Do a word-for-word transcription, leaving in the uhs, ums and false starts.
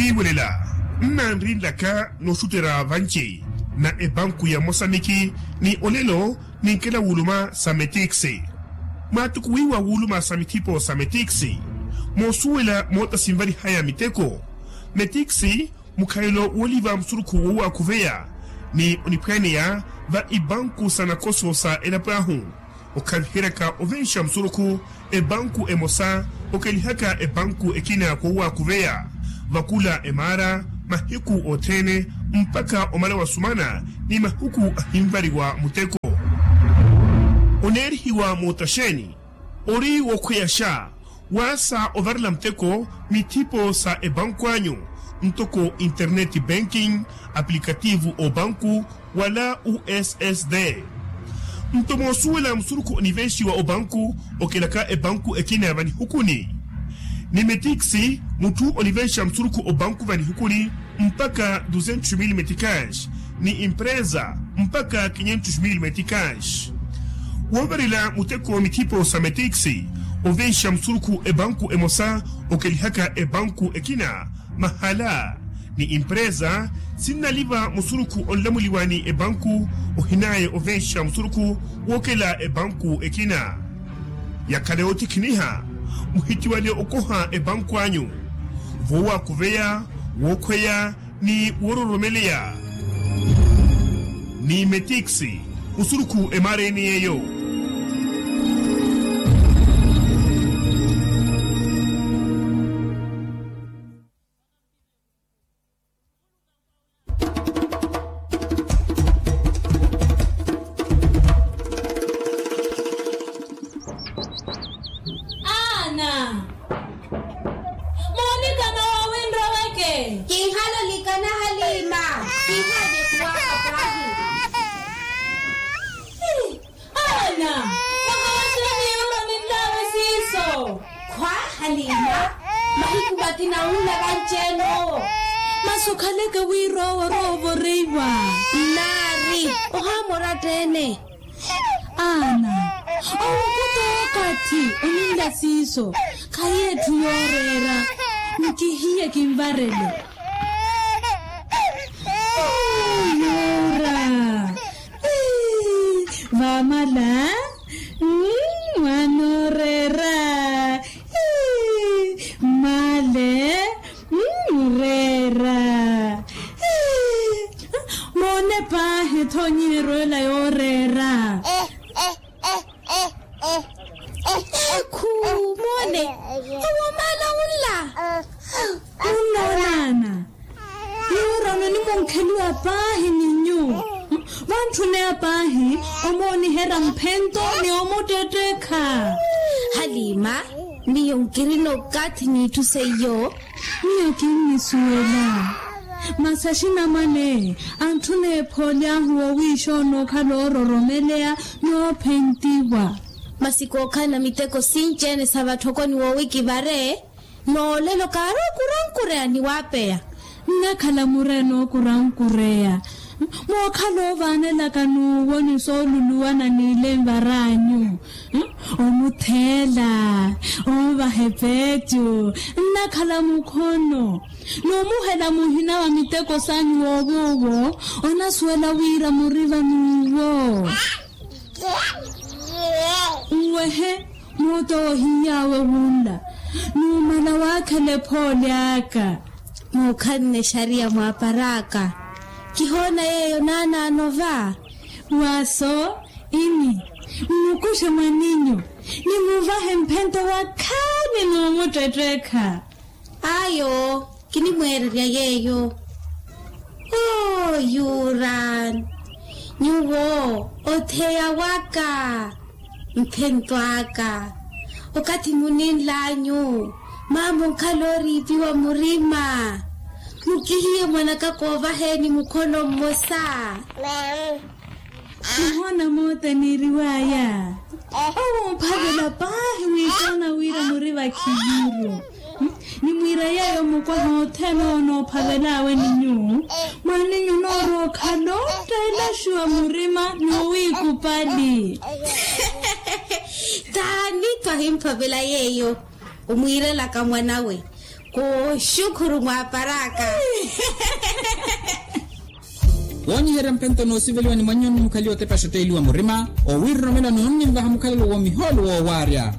Iwelela nnanrinlaka nooxutterya vanci na epanku ya mosamiki ni olelo ninkela wuluma sa metiksi. Mwaatukuwiwa wuluma sa mithipo sa metiksi moosuwela moota sinvalihaya miteko. Metiksi mukhalelo wooliva musurukhu woowakhuveya ni oniphwaaneya va ipanku sa nakoso sa elapo ahu. Okhaviheryaka ovenxa musurukhu epanku emosa okelihaka epanku ekina kowaakuveya vakula emaara mahiku othene mpakha omala wasumana ni mahiku ahinvariwa muteko. Oneerihiwa mootaxeeni ori wokhweyaxa waasa ovarela muteko mithipo sa epanku anyu ntoko internet banking, apulikativu opanku wala ussd. Nto moosuwela musurukhu onivenxiwa opanku okelaka epanku ekina vanihukuni ni metiksi mutthu onivenxa musurukhu opanku vanihukuni mpakha duzentos mil metikaxi ni empresa mpakha kinhentos mil metikaxi. Woovarela muteko mithipo sa metiksi ovenxa musurukhu epanku emosa okelihaka epanku ekina mahala ni empresa sinnaliva musurukhu onlamuliwa ni epanku ohinaya ovenxa musurukhu wookela epanku ekina. Yakhala yootikhiniha muhitiwale okoha epanku anyu voowakuveya wookhweya ni woororomeleya ni metiksi musurukhu emaara ene yeeyo. Aana, moonikana waawinra weke. Kinhale olikana haliima. Kinhale kuwaha paahi. Aana, makawaxela ni yuro ninlawe siiso. Khwa haliima. Mahiku mati nawuula vanci-ene owo. Masi okhaleke wira owo orowa ovoreiwa. Nnaari ohaamora tte-ene. Aana, owo khuta okathi oninla siiso. Khayi etthu yooreera. Nkihiye kinvarele. Yuura. Vaamala. Mwaanoreera. Mmaale. Mureera. Moone paahi ethonyi erweela yooreera. Ekhu. Moone. Owo maala wunla. Wunla onaana. Yuura ononimunkheliwa paahi ni nyuwo. Vantthune apaahi omooniherya mphento ni omuttettekha. Haliima, miyo nkirina okathi n'itthu seiyo. Miyo kinnisuwela. Masi axinamwane antthuna ephooli ahu woowiixoona okhala oororomeleya n'ophentiwa. Masi kookhala na miteko sinci-ene sa vatthokoni woowikivare. Noolelo kaari okurankureya ni waapeya. Nnakhala mureya n'okurankureya. Mookhala oovaanelaka n'uwo ni sooluluwana n'ilenvara anyu. Omutheela. Oovaha epeecu. Nnakhala mukhono. N'omuhela muhina wa miteko sanyu woov'uwo onasuwela wira muriva n'uwo. Nwehe. Moota owo ohiy'awe wunla. Numala waakhela ephooli aka. Muukhanne exariya mwaapara aka. Kihoona yeeyo naanaano va. Waaso ini. Mmukuxe mwaninyu. Nimuvahe mphento wakhaani n'umuttettekha. Ayo kinimweererya yeeyo. Oo yuura. Nyuwo otheya waka. Mphento aka. Okathi muninl'anyu mama onkhala ooriipiwa murima. Mukihiye mwanaka koovaheeni mukhono mmosa. Muhoona moota niiriw'aya. Owo omphavela paahi wiikoona wira muri vakhiviru. Nimwiira yeeyo mukwaha othene owo noophavel'awe ni nyuwo. Mwaninyu onoorowa okhala ottteelaxiwa murima n'owiikupali. Taani twahimphavela yeeyo. Omwiirelaka mwanawe. Kuxukhuru mwaparaka. Woonyiherya mpento noosiveliwa ni mwannyoni mukhaliwa otepa exotteeliwa murima owiiroromela noonninvaha mukhalelo woomihoolo woowaarya.